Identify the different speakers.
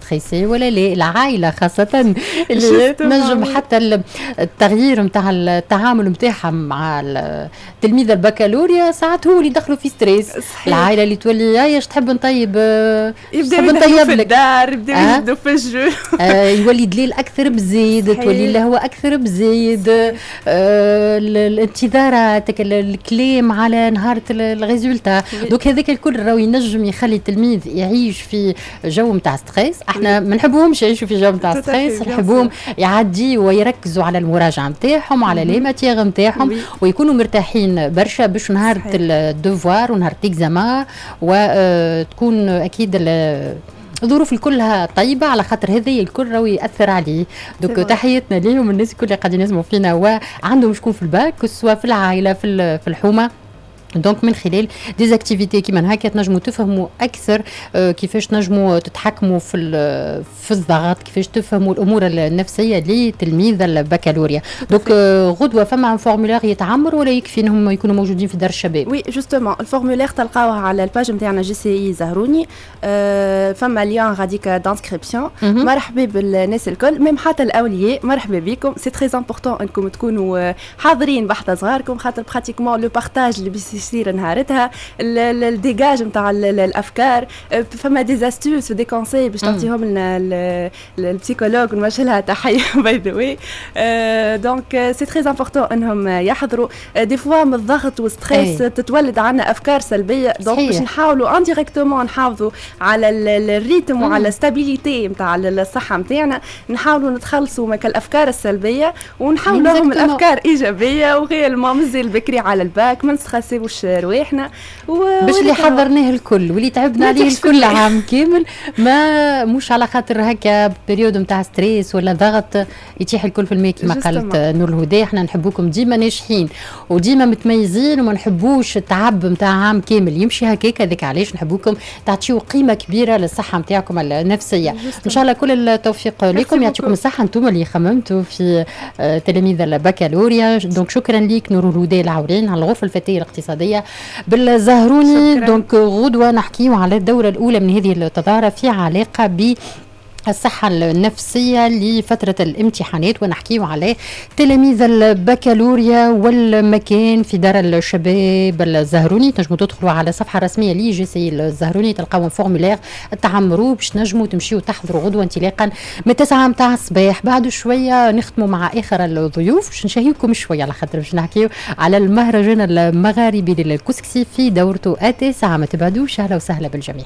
Speaker 1: stressé ولا لا. العائلة خاصة اللي تنجم حتى التغيير نتاع التعامل نتاعها مع تلميذ البكالوريا ساعات هو اللي يدخلوا في stress. العائلة اللي تولي يا اش تحب نطيب،
Speaker 2: يبدا نطيب في الدار، يبدا يجدوا في الجو،
Speaker 1: يولي دليل اكثر بزيد، تولي له هو اكثر بزيد، الانتظارات، الكلام على نهار ال résultat. donc هذاك الكل راهو ينجم يخلي التلميذ يعيش في جو نتاع stress. احنا ما نحبوهمش يعيشوا في جو نتاع stress، نحبوهم يعدي ويركزوا على المراجعة نتاعهم، على les matières نتاعهم، ويكونوا مرتاحين برشا باش نهار ال devoir ونهار l'examen وتكون اكيد الظروف كلها طيبه، على خاطر هذا الكل راهو ياثر عليه. donc تحياتنا ليهم، الناس الكل اللي قاعدين يسمعوا فينا وعندهم شكون في ال bac، سواء في العائله، في الحومه. donc من خلال des activités كيما هكا تنجموا تفهموا اكثر كيفاش تنجموا تتحكموا في الضغط، كيفاش تفهموا الامور النفسية لتلميذ البكالوريا. donc غدوه فما formulaire يتعمر ولا يكفي انهم يكونوا موجودين في دار الشباب؟
Speaker 2: oui، justement ال formulaire تلقاوه على ال page نتاعنا JCI زهروني، فما lien غاديك d'inscription. مرحبا بالناس الكل، même حتى الاولياء مرحبا بكم. c'est très important انكم تكونوا حاضرين بحذا صغاركم، خاطر pratiquement le partage اللي يصير نهارتها، ال dégage نتاع الافكار، فما des astuces و des conseils باش تعطيهم لنا ال psychologue، نوجه لها تحية by the way. donc c'est très important انهم يحضروا. des fois من الضغط وال stress تتولد عندنا افكار سلبيه، donc باش نحاولوا indirectement نحافظوا على ال rythme وعلى stabilité نتاع الصحة نتاعنا، نحاولوا نتخلصوا من الافكار السلبية ونحاولوا الافكار ايجابيه. و réellement مازال بكري على الباك، ما نستريسيوش رواحنا.
Speaker 1: باش اللي حضرناه الكل واللي تعبنا عليه الكل عام كامل، ما مش على خاطر هكا période نتاع stress ولا ضغط يتيح الكل في الماء. كما قالت نور الهدى، احنا نحبوكم ديما ناجحين وديما متميزين، وما نحبوش التعب نتاع عام كامل يمشي هكاك. هذاك علاش نحبوكم تعطيو قيمة كبيرة للصحة نتاعكم النفسيه. ان شاء الله كل التوفيق لكم، يعطيكم الصحة انتم اللي خممتوا في تلاميذ البكالوريا. donc شكرا لك نور الهدى العورين على الغرفة الفتية الاقتصادية بالزهروني. donc غدوه نحكيو على الدورة الاولى من هذه التظاهرة في علاقة ب الصحة النفسية لفترة الامتحانات، ونحكيه على تلاميذ البكالوريا، والمكان في دار الشباب الزهروني. تنجموا تدخلوا على الصفحة الرسمية ل JCI الزهروني، تلقاو formulaire تعمروا باش تنجموا تمشيوا تحضروا غدوة انطلاقا من 9 متاع الصباح. بعد شوية نختموا مع آخر الضيوف باش نشهيكم شوية، على خاطر باش نحكيو على المهرجان المغاربي للكسكسي في دورته التاسعة. ما تبعدوش، أهلا وسهلا بالجميع.